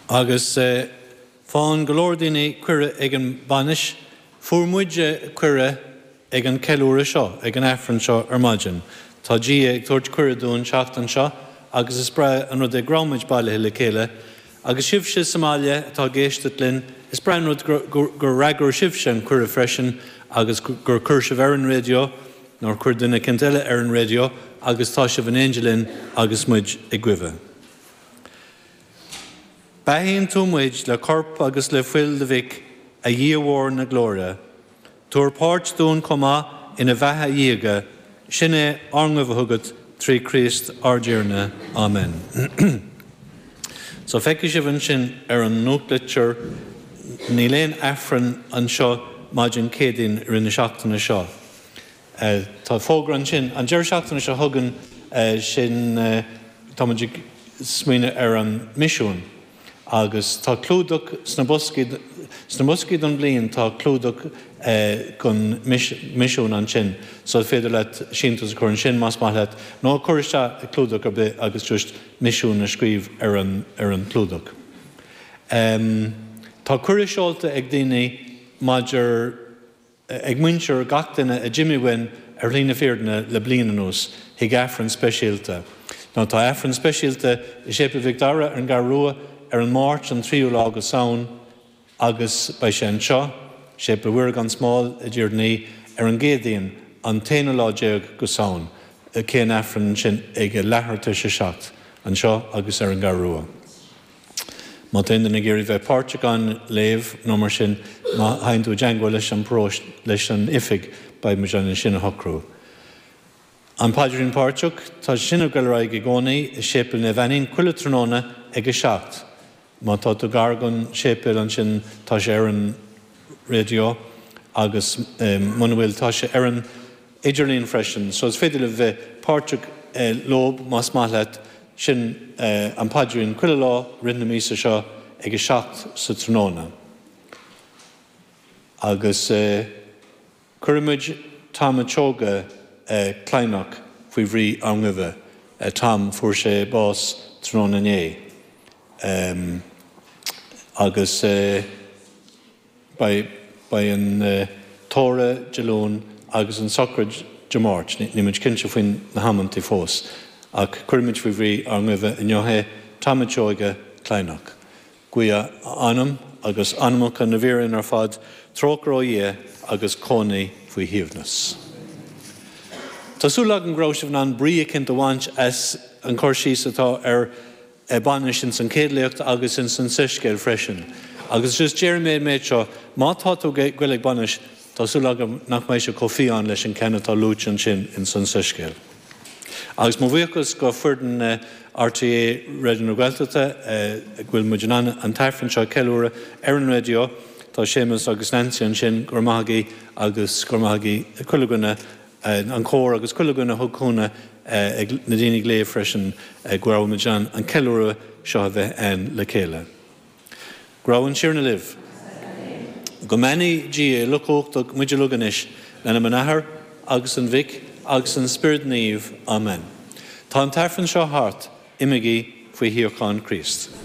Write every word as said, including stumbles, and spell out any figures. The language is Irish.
Agus faigheann go leor daoine cuireadh ag an bainis, fuair muide cuireadh ag an ceiliúradh seo, ag an Aifreann seo ar maidin. Tá Dia ag tabhairt cuireadh dúinn seachtain seo agus is breá an rud é go raibh muid bailithe le chéile. Agus sibhse sa mbaile atá ag éisteacht linn, is breá an rud gur fhreagair sibhse an cuireadh freisin agus gur chuir sibh ar an raidió, nó chuir duine éicint eile ar an raidió agus tá sibh in éindí linn agus muid ag guí. Beathaíonn tú muid le corp agus le fuil do mhic a Dhia mhóir na glóire. Tabhair páirt dúinn chomh maith ina bheatha dhiaga, sin é ár nguí chugat trí Chríost ár dTiarna. Amen. So feicfidh sibh ansin ar an nuachtlitir níl aon Aifreann anseo maidin Céadaoin i rith na seachtaine seo. Tá fógra ansin an deireadh seachtaine seo chugainn sin tá muid ag smaoineamh ar an misiún. Agus tá clúdach sna boscaí sna boscaí don bhliain tá clúdach don misiún ansin, so is féidir leat síntiús a chur ansin más maith leat, nó cuir isteach clúdach ar bith agus just misiún a scríobh ar an ar an clúdach. Um, tá cuireadh seolta ag daoine maidir ag muintir gach duine a d'imigh uainn ar shlí na fírinne le bliain anuas chuig Aifreann speisialta. Nó tá Aifreann speisialta i Séipéal Mhic Dara ar an gCeathrú Rua ar an Máirt an tríú lá go Samhain agus beidh sé anseo, Séipéal Mhuire gan Smál i dTír an Fhia ar an gCéadaoin an t-aonú lá déag go Samhain, cén Aifreann sin ag leathuair tar éis a seacht anseo agus ar an gCeathrú Rua. Má tá aon duine ag iarraidh bheith páirteach an léamh nó mar sin má théann tú i dteagmháil leis an bparóiste leis an oifig beidh muid ann sin a shocrú. An Paidrín Páirteach tá sin ag dul ar aghaidh i gcónaí i Séipéal Naomh Ainnín chuile tráthnóna ag a seacht. Má tá tú gar don séipéal ansin tá sé ar an raidió agus muna bhfuil tá sé ar an idirlíon freisin, so is féidir le bheith páirteach leo más maith leat sin an Paidrín chuile lá rith na míosa seo ag a seacht sa tráthnóna. Agus cuirimid Tom a' tSeoige Cladhnach faoi bhrí ár nguí. Tom fuair sé bás tráthnóna inné. Um, agus uh, beidh an uh, tórramh Dé Luain agus an sochraid Dé Máirt, níl muid cinnte faoin na hamantaí fós, ach cuirimid faoi bhrí ár nguí inniu é Tom a' tSeoige Cladhnach. Guí a anam agus anamacha na bhfíréan ar fad trócaire ó Dhia agus cónaí faoi shuaimhneas. Tá súil agam go raibh sibh in ann brí éicint a bhaint as an chur síos atá ar bainis in san chéad léacht agus in san soiscéal freisin. Agus just déarfaidh mé an méid seo, má tá tú ag goil ag bainis, tá súil agam nach mbeidh sé chomh fiáin leis an ceann atá luaite ansin in san soiscéal. Agus mo bhuíochas go foireann RTÉ Raidió na Gaeltachta go bhfuil muid in ann an t-aifreann seo ceiliúradh ar an raidió, Tá Séamus agus Nancy ansin gur maithagaí agus gur maithagaí chuile dhuine an cór agus chuile dhuine thug cúnamh ag na daoine ag léamh freisin go raibh muid an an ceiliúradh seo a bheith ann le chéile. Go raibh an Tiarna libh. Go mbeannaí Dia uilechumhachtach muid uilig anois in ainm an Athar agus an Mhic agus an Spiorad Naomh. Amen. Tá an t-aifreann seo thart, imígí faoi shíocháin Chríost.